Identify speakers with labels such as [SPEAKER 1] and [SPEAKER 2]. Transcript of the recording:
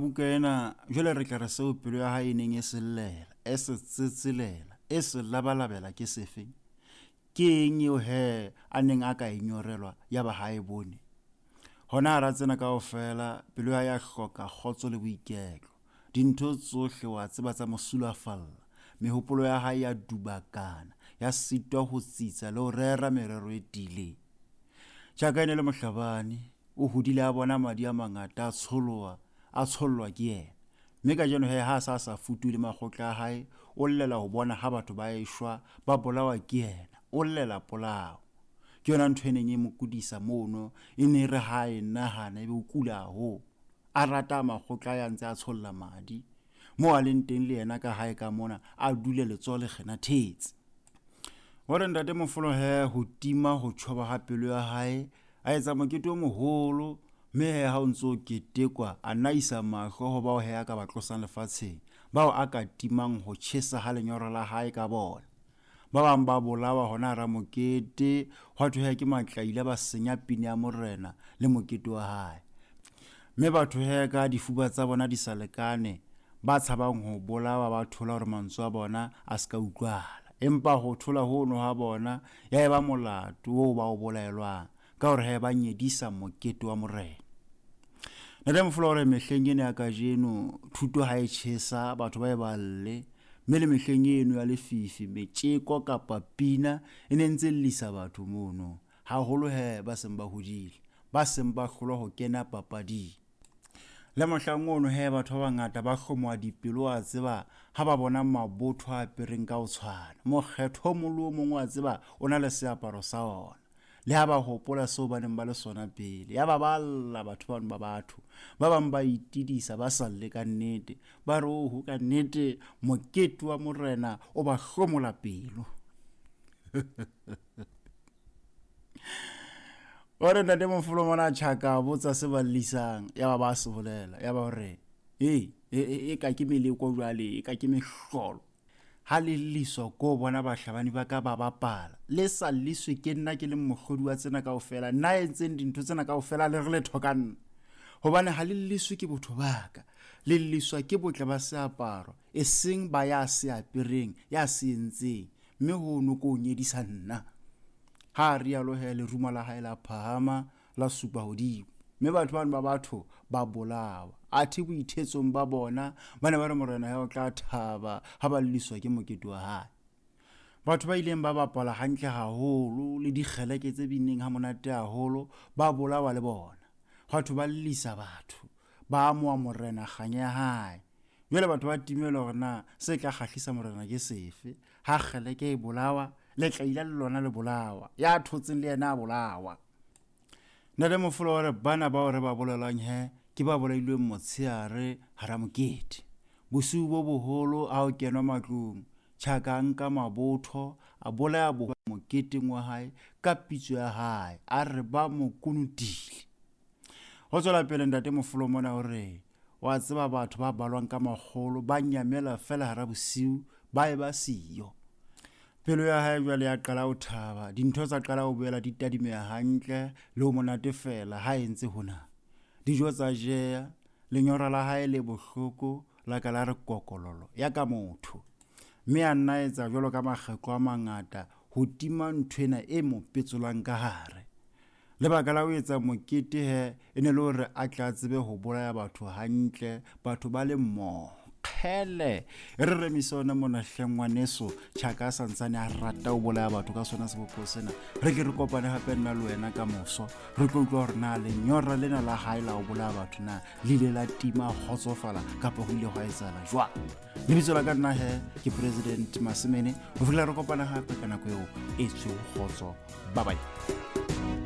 [SPEAKER 1] buka ena, jwale re tla re seo pelo ya hae e neng e se llela, e se tsetselela, e se labalabela ke sefe? Ke eng eo he a neng a ka e nyorelwa ya ba ha e bone? Hona hara tsena kaofela, pelo ya hae ya hloka kgotso le boiketlo. Dintho tsohle wa tseba tsa mo sulafalla. Mehopolo ya hae ya dubakana, ya sitwa ho tsitsa le ho rera merero e tiileng. Tjaka e ne le mohlabani, o hodile a bona madi a mangata a tsholoha, a tshollwa ke yena. Mme kajeno he ha a sa a sa futuhe le makgotla a hae, o llela ho bona ha batho ba eshwa, ba bolawa ke yena. O llela polao. Ke yona ntho e neng e mo kudisa mono, e ne e re ha a e nahana ebe o kula haholo. A rata makgotla a ya ntse a tsholla madi. Moo a leng teng le yena ka hae ka mona, a dule letsoho le kgenathetse. O re ntate Mofolo he ho tima ho tjhoba ha pelo ya hae, a etsa mokete o moholo, mme he ha o ntse o ketekwa, a nna isa mahlo ho bao he a ka ba tlosang lefatsheng, bao a ka timang ho tjhesa ha lenyora la hae ka bona. Ba bang ba bolawa hona hara mokete, hwa thwe he ke matlaila ba senya pina ya morena le mokete wa hae. Mme batho he ka difuba tsa bona di sa lekane, ba tshabang ho bolawa ba thola hore mantswe a bona a se ka utlwahala. Empa ho thola hono ha bona ya eba molato oo ba o bolaelwang, ka hore he ba nyedisa mokete wa morena. Ntate Mofolo o re mehleng ena ya kajeno thuto ha e tjhesa batho ba e balle, mme le mehleng eno ya lefifi metjeko kapa pina e ne ntse llisa batho mono, haholo he ba seng ba hodile, ba seng ba hlolwa ho kena papading. Le mohlang ono he batho ba bangata ba hlomoha dipelo wa tseba ha ba bona mabotho a apereng ka ho tshwana. Mokgetho o mong le o mong wa tseba o na le seaparo sa ona. Le ha ba hopola seo ba neng ba le sona pele, yaba ba lla batho bano ba batho. Ba bang ba itidisa ba sa lle ka nnete, ba re oho ka nnete mokete wa morena o ba hlomola pelo. O re ntate Mofolo mona tjhaka a botsa se ba llisang, yaba ba se bolela, yaba o re e e ka ke meleko jwale, e ka ke mehlolo. Ha le lliswa ko bona bahlabani ba ka ba bapala, le sa lliswe ke nna ke leng mohlodi wa tsena kaofela, nna entseng dintho tsena kaofela le re letho ka nna. Hobane ha le lliswe ke botho ba ka, le lliswa ke botle ba seaparo, eseng ba ya se apereng, ya se entseng, mme hono ko o nyedisa nna. Ha a rialo he lerumo la hae la phahama la supa hodimo, mme batho bano ba batho ba bolawa. Athe boithetsong ba bona ba ne ba re morena ya o tla thaba ha ba lliswa ke mokete wa hae. Batho ba ileng ba bapala hantle haholo le dikgeleke tse binneng ha monate haholo ba bolawa le bona. Batho ba llisa batho, ba amoha morena kganya ya hae. Jwale batho ba timelwa hore na se tla kgahlisa morena ke sefe. Ha kgeleke e bolawa, letlaila le lona le bolawa, ya thotseng le yena a bolawa. Ntate Mofolo wa re bana bao re ba bolelang he ke ba bolailweng motsheare hara mokete. Bosiu bo boholo ha o kenwa matlong, Tjhaka a nka mabotho a bolaya bo moketeng wa hae ka pitso ya hae, a re ba mo kunutile. Ho tswela pele ntate Mofolo mona o re wa tseba batho ba balwang ka makgolo ba nyamela fela hara bosiu ba eba siyo. Pelo ya hae jwale ya qala ho thaba, dintho tsa qala ho boela di tadimeha hantle le ho monate fela ha entse hona. Dijo tsa jeya, lenyora la hae le bohloko la ka la re kokololo ya ka motho. Mme a nna etsa jwalo ka makgetlo a mangata ho tima ntho ena e mo petsolang ka hare. Lebaka la ho etsa mokete he e ne le hore a tle a tsebe ho bolaya batho hantle, batho ba le mmoho. Kgele, e re remise ona mona hle ngwaneso, Tjhaka a santsane a rata ho bolaya batho ka sona sebopho sena. Re ke re kopane hape nna le wena ka moso, re tlo utlwa hore na lenyora lena la hae la ho bolaya batho na le ile la tima a kgotsofala kapa ho ile hwa etsahala jwang. Lebitso la ka nna he ke President Masemene, ho fihlela re kopana hape ka nako eo e tshweu kgotso. Bye bye.